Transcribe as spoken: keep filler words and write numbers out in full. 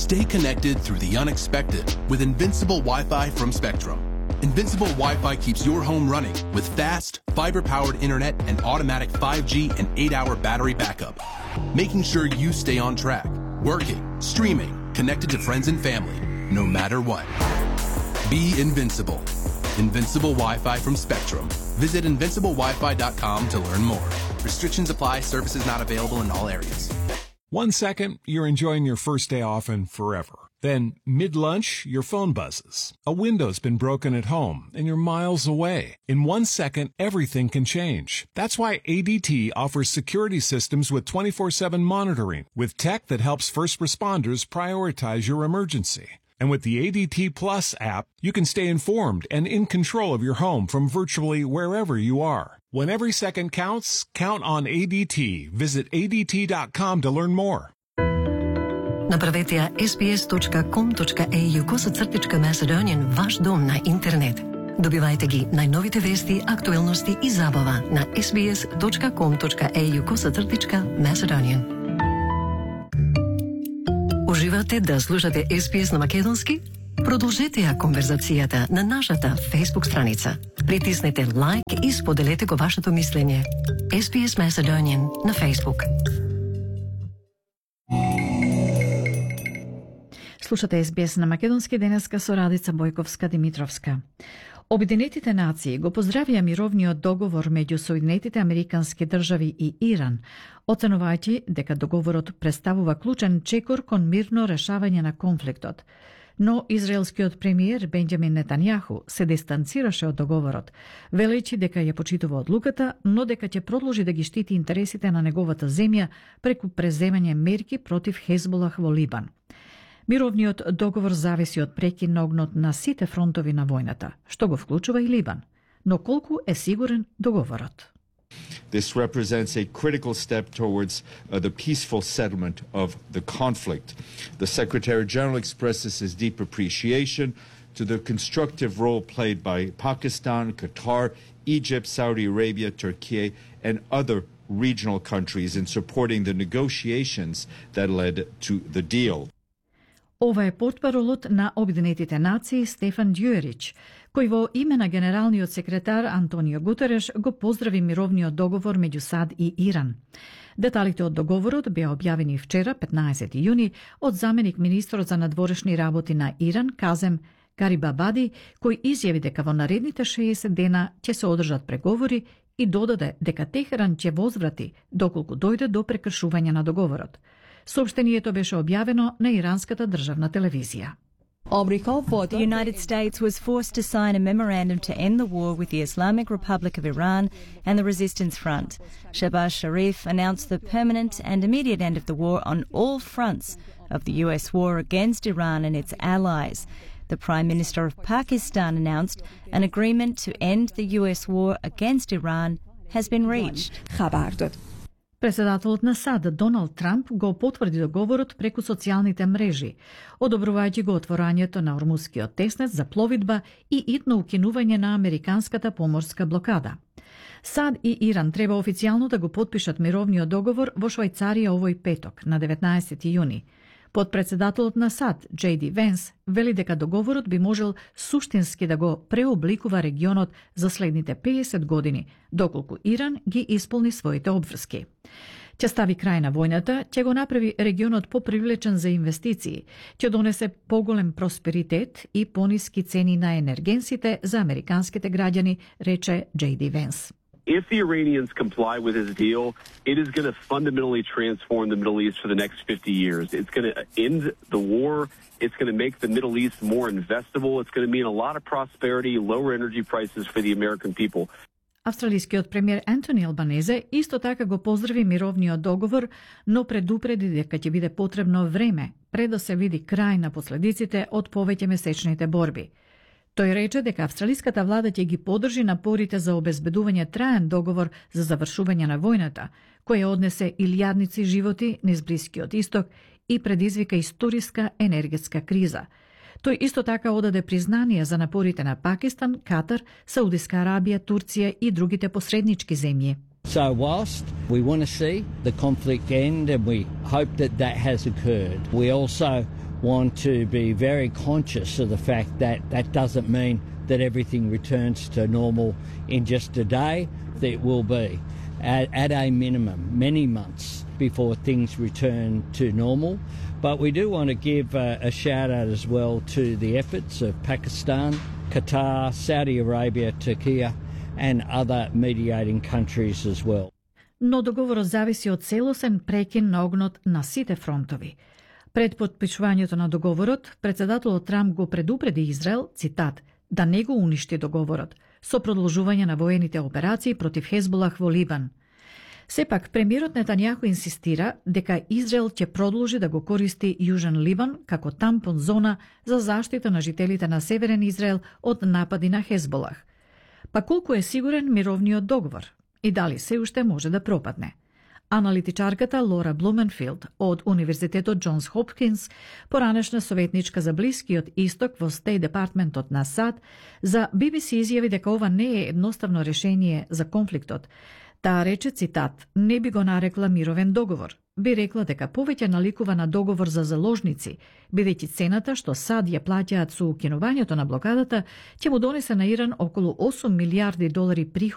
Stay connected through the unexpected with Invincible Wi-Fi from Spectrum. Invincible Wi-Fi keeps your home running with fast, fiber-powered internet and automatic five G and eight hour battery backup, making sure you stay on track, working, streaming, connected to friends and family, no matter what. Be invincible. Invincible Wi-Fi from Spectrum. Visit invincible wi fi dot com to learn more. Restrictions apply. Services not available in all areas. One second, you're enjoying your first day off and forever. Then, mid-lunch, your phone buzzes. A window's been broken at home, and you're miles away. In one second, everything can change. That's why A D T offers security systems with twenty-four seven monitoring, with tech that helps first responders prioritize your emergency. And with the A D T Plus app, you can stay informed and in control of your home from virtually wherever you are. When every second counts, count on A D T. Visit A D T dot com to learn more. Направете ја ес би ес точка ком точка ей ю косацртичка Macedonian ваш дом на интернет. Добивајте ги најновите вести, актуелности и забава на ес би ес точка ком точка ей ю косацртичка Macedonian. Уживате да слушате ес би ес на македонски? Продолжете ја конверзацијата на нашата Facebook страница. Притиснете лайк и споделете го вашето мислење. ес би ес Macedonian на Facebook. Слушате ес би ес на македонски денеска со Радица Бојковска-Димитровска. Обединетите нации го поздравија мировниот договор меѓу Соединетите Американски држави и Иран, оценувајќи дека договорот представува клучен чекор кон мирно решавање на конфликтот. Но израелскиот премиер Бенџамин Нетањаху се дистанцираше од договорот, велејќи дека ја почитува одлуката, но дека ќе продолжи да ги штити интересите на неговата земја преку преземање мерки против Хезболах во Либан. Мировниот договор зависи од прекин на огнот на сите фронтови на војната, што го вклучува и Либан. Но колку е сигурен договорот? This represents a critical step towards uh, the peaceful settlement of the conflict. The Secretary General expresses his deep appreciation to the constructive role played by Pakistan, Qatar, Egypt, Saudi Arabia, Turkey, and other regional countries in supporting the negotiations that led to the deal. Ова е портпаролот на Обединетите нации Стефан Дјуерич, кој во име на генералниот секретар Антонио Гутереш го поздрави мировниот договор меѓу САД и Иран. Деталите од договорот беа објавени вчера, петнаесети јуни, од заменик министрот за надворешни работи на Иран Казем Гарибабади, кој изјави дека во наредните шеесет дена ќе се одржат преговори и додаде дека Техеран ќе возврати доколку дојде до прекршување на договорот. Сообштението беше објавено на иранската државна телевизија. The United States was forced to sign a memorandum to end the war with the Islamic Republic of Iran and the Resistance Front. Shehbaz Sharif announced the permanent and immediate end of the war on all fronts of the U S war against Iran and its allies. The Prime Minister of Pakistan announced an agreement to end the U S war against Iran has been reached. Председателот на САД Доналд Трамп го потврди договорот преку социјалните мрежи, одобрувајќи го отворањето на Ормускиот теснец за пловидба и итно укинување на американската поморска блокада. САД и Иран треба официјално да го потпишат мировниот договор во Швајцарија овој петок, на деветнаесети јуни. Подпредседателот на САД, Џей Ди Венс, вели дека договорот би можел суштински да го преобликува регионот за следните педесет години, доколку Иран ги исполни своите обврски. Ќе стави крај на војната, ќе го направи регионот попривлечен за инвестиции, ќе донесе поголем просперитет и пониски цени на енергенсите за американските граѓани, рече Џей Ди Венс. If the Iranians comply with his deal, it is going to fundamentally transform the Middle East for the next fifty years. It's going to end the war. It's going to make the Middle East more investable. It's going to mean a lot of prosperity, lower energy prices for the American people. Австралискиот премиер Антони Албанезе исто така го поздрави мировниот договор, но предупреди дека ќе биде потребно време пред да се види крај на последиците од повеќе месечните борби. Тој рече дека австралиската влада ќе ги поддржи напорите за обезбедување траен договор за завршување на војната, која однесе илјадници животи низ Блискиот исток и предизвика историска енергетска криза. Тој исто така одаде признание за напорите на Пакистан, Катар, Саудиска Арабија, Турција и другите посреднички земји. So whilst we want to see the conflict end and we hope that that has occurred, we also want to be very conscious of the fact that that doesn't mean that everything returns to normal in just a day. It will be at, at a minimum many months before things return to normal. But we do want to give a, a shout out as well to the efforts of Pakistan, Qatar, Saudi Arabia, Turkey and other mediating countries as well. Но договорот зависи од целосен прекин на огнот на сите фронтови. Пред потпишувањето на договорот, председателот Трамп го предупреди Израел, цитат, да не го уништи договорот, со продолжување на воените операции против Хезболах во Либан. Сепак, премиерот Нетањаху инсистира дека Израел ќе продолжи да го користи Јужен Либан како тампон зона за заштита на жителите на Северен Израел од напади на Хезболах. Па колку е сигурен мировниот договор и дали се уште може да пропадне? Аналитичарката Лора Блуменфилд од Универзитетот Џонс Хопкинс, поранешна советничка за Блискиот Исток во Стејт Департментот на САД, за Би Би Си изјави дека ова не е едноставно решение за конфликтот. Таа рече, цитат, не би го нарекла мировен договор. Би рекла дека повеќе наликува на договор за заложници, бидејќи цената што САД ја плаќаат со укинувањето на блокадата ќе му донесе на Иран околу осум милијарди долари приход